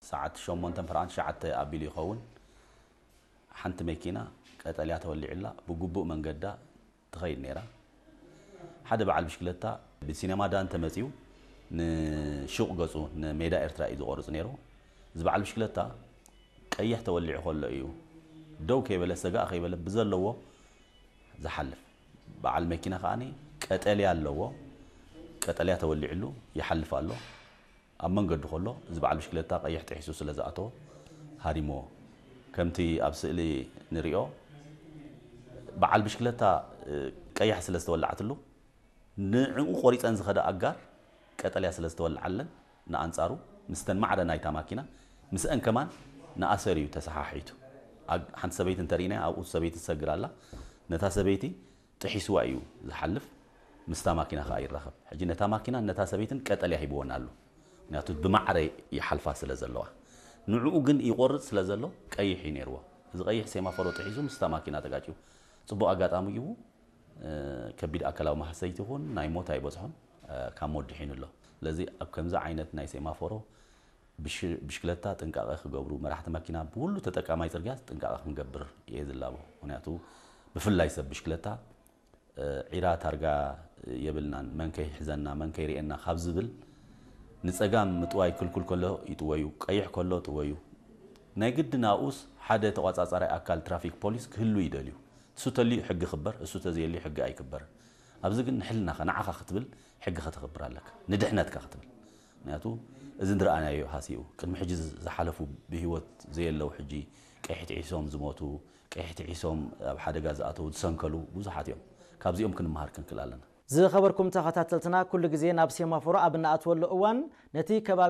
ሰዓት ሸሞንተ ፐርዓንት ሸዓተ ኣቢሉ ይኸውን። ሓንቲ መኪና ቀጠልያ ተወሊዕላ ብግቡእ መንገዳ ትኸይድ ነይራ። ሓደ በዓል ብሽክለታ ብሲነማ ዳን ተመጺኡ ንሹቕ ገጹ ንሜዳ ኤርትራ እዩ ዝቖርጽ ነይሩ። እዚ በዓል ብሽክለታ ቀይሕ ተወሊዑ ከሎ እዩ ደው ከይበለ ሰጋእ ከይበለ ብዘለዎ ዝሓልፍ። በዓል መኪና ከኣ ቀጠልያ ኣለዎ። ቀጠልያ ተወሊዕሉ ይሓልፍ ኣሎ። ኣብ መንገዱ ከሎ እዚ በዓል ብሽክለታ ቀይሕ ጥሒሱ ስለ ዝኣተወ ሃሪምዎ። ከምቲ ኣብ ስእሊ ንሪኦ በዓል ብሽክለታ ቀያሕ ስለ ዝተወላዓትሉ ንዕኡ ቆሪፀን ዝኸዳ ኣጋር ቀጠልያ ስለ ዝተወላዓለን ንኣንፃሩ ምስተን ማዕረ ናይታ ማኪና ምስአን ከማን ንኣሰር እዩ ተሰሓሒቱ። ሓንቲ ሰበይቲ እንተርኢና ኣብኡ ሰበይቲ ትሰግር ኣላ። ነታ ሰበይቲ ጥሒስዋ እዩ ዝሓልፍ፣ ምስታ ማኪና ከኣ ይራኸብ። ሕጂ ነታ ማኪና ነታ ሰበይትን ቀጠልያ ሂብወን ኣሎ። ምክንያቱ ብማዕረ ይሓልፋ ስለ ዘለዋ። ንዕኡ ግን ይቆርጽ ስለ ዘሎ ቀይሕ እዩ ነይርዎ። እዚ ቀይሕ ሴማፎሮ ጥሒሱ ምስታ ማኪና ተጋጭዩ። ጽቡቕ ኣጋጣሚ እዩ። ከቢድ ኣካላዊ ማህሰይቲ ይኹን ናይ ሞት ኣይበጽሖን፣ ካብ ሞት ድሒኑ ኣሎ። ስለዚ ኣብ ከምዚ ዓይነት ናይ ሴማፎሮ ብሽክለታ ጥንቃቐ ክገብሩ፣ መራሕቲ መኪና፣ ብኩሉ ተጠቃማይ ጽርግያ ጥንቃቐ ክንገብር እየ ዝላቦ። ምክንያቱ ብፍላይ ሰብ ብሽክለታ ዒራ ታርጋ የብልናን፣ መን ከይሕዘና መን ከይርእየና ካብ ዝብል ንጸጋም ምጥዋይ ክልኩል ከሎ ይጥወዩ፣ ቀይሕ ከሎ ጥወዩ። ናይ ግድን ኣብኡስ ሓደ ተቋጻጻራይ ኣካል ትራፊክ ፖሊስ ክህሉ ይደልዩ። እሱ ተልዩ ሕጊ ክበር፣ እሱ ተዘየልዩ ሕጊ ኣይክበርን። ኣብዚ ግን ንሕልናኻ ንዓኻ ክትብል ሕጊ ከተኽብር ኣለካ፣ ንድሕነትካ ክትብል። ምክንያቱ እዚ ንረኣናዮ ሃሲኡ ቅድሚ ሕጂ ዝሓለፉ ብህይወት ዘየለዉ ሕጂ ቀይሕ ጥሒሶም ዝሞቱ፣ ቀይሕ ጥሒሶም ኣብ ሓደጋ ዝኣተዉ ዝሰንከሉ ብዙሓት እዮም። ካብዚኦም ክንመሃር ክንክእል ኣለና። ዝኸበርኩም ተኸታተልትና ኩሉ ግዜ ናብ ሴማፎሮ ኣብ እንኣትወሉ እዋን ነቲ ከባቢ